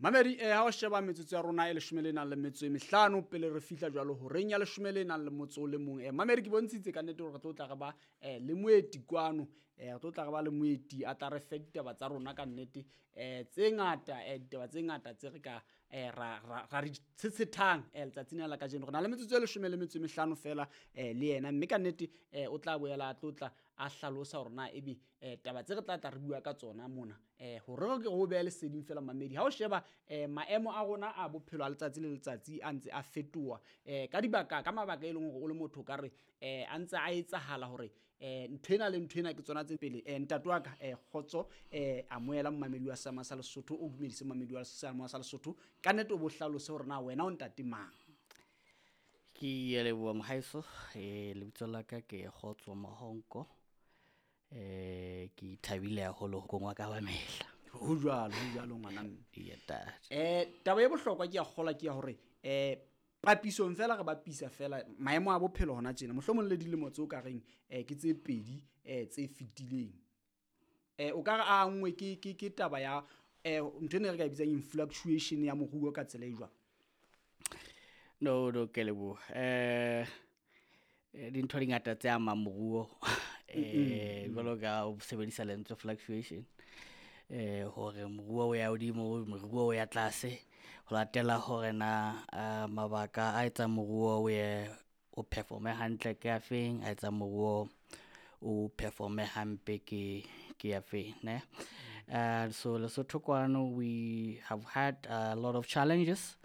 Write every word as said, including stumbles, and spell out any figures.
Mamedi, eh ha o sheba metsotso ya rona e leshome le nang le metso e mehlano pele re fihla jwalo horeng ya leshome le nang le motso o le mong. Eh mamedi, ke bontshitse ka nnete hore re tlo tla re ba eh le moeti kwano. Eh re tlo tla re ba le moeti a tla re fe ditaba tsa rona ka nnete eh tse ngata, eh ditaba tse ngata tse re ka eh ra ra ra di tshetshethang eh letsatsing la kajeno. Re na le metsotso e leshome le metso e mehlano fela eh le yena, mme ka nnete eh o tla boela a tlo tla a hlalosa hore na ebe eh taba tse re tla tla re bua ka tsona mona eh hore re ke re o behe leseding fela. Mamedi, ha o sheba eh maemo a rona a bophelo a letsatsi le letsatsi a ntse a fetoha eh ka dibaka, ka mabaka e leng hore o le motho o ka re eh a ntse a etsahala hore eh nthwena le nthwena ke tsona tse pele. Eh ntate wa ka, eh Kgotso, eh amohela momamedi wa Seema sa Lesotho, o dumedise momamedi wa Seema sa Lesotho ka nnete, o bo hlalose hore na wena o ntate mang. Ke a leboha mohaeso. eh lebitso la ka ke Kgotso Mahonko. eh ke thabile haholo ho kongwa ka ba mehla. Ho jwalo, ho jwalo ngwana mme. Eya ntate. Eh taba e bohlokwa ke ya kgola ke ya hore eh papisong fela re bapisa fela maemo a bophelo hona tjena, mohlomong le dilemo tseo ka reng eh ke tse pedi eh tse fetileng, eh o ka re a nngwe ke ke ke taba ya eh ntho ena re ka e bitsang influctuation ya moruo ka tsela e jwang? No, no, ke leboha. eh dintho di ngata tse amang moruo, eh jwalo ka o sebedisa lentswe fluctuation, eh hore moruo o ya hodimo, moruo o ya tlase, ho latela hore na mabaka a etsang moruo o ye o perform-e hantle ke afeng, a etsang moruo o perform-e hampe ke ke afeng ne. Uh, so Lesotho kwano we have had a lot of challenges.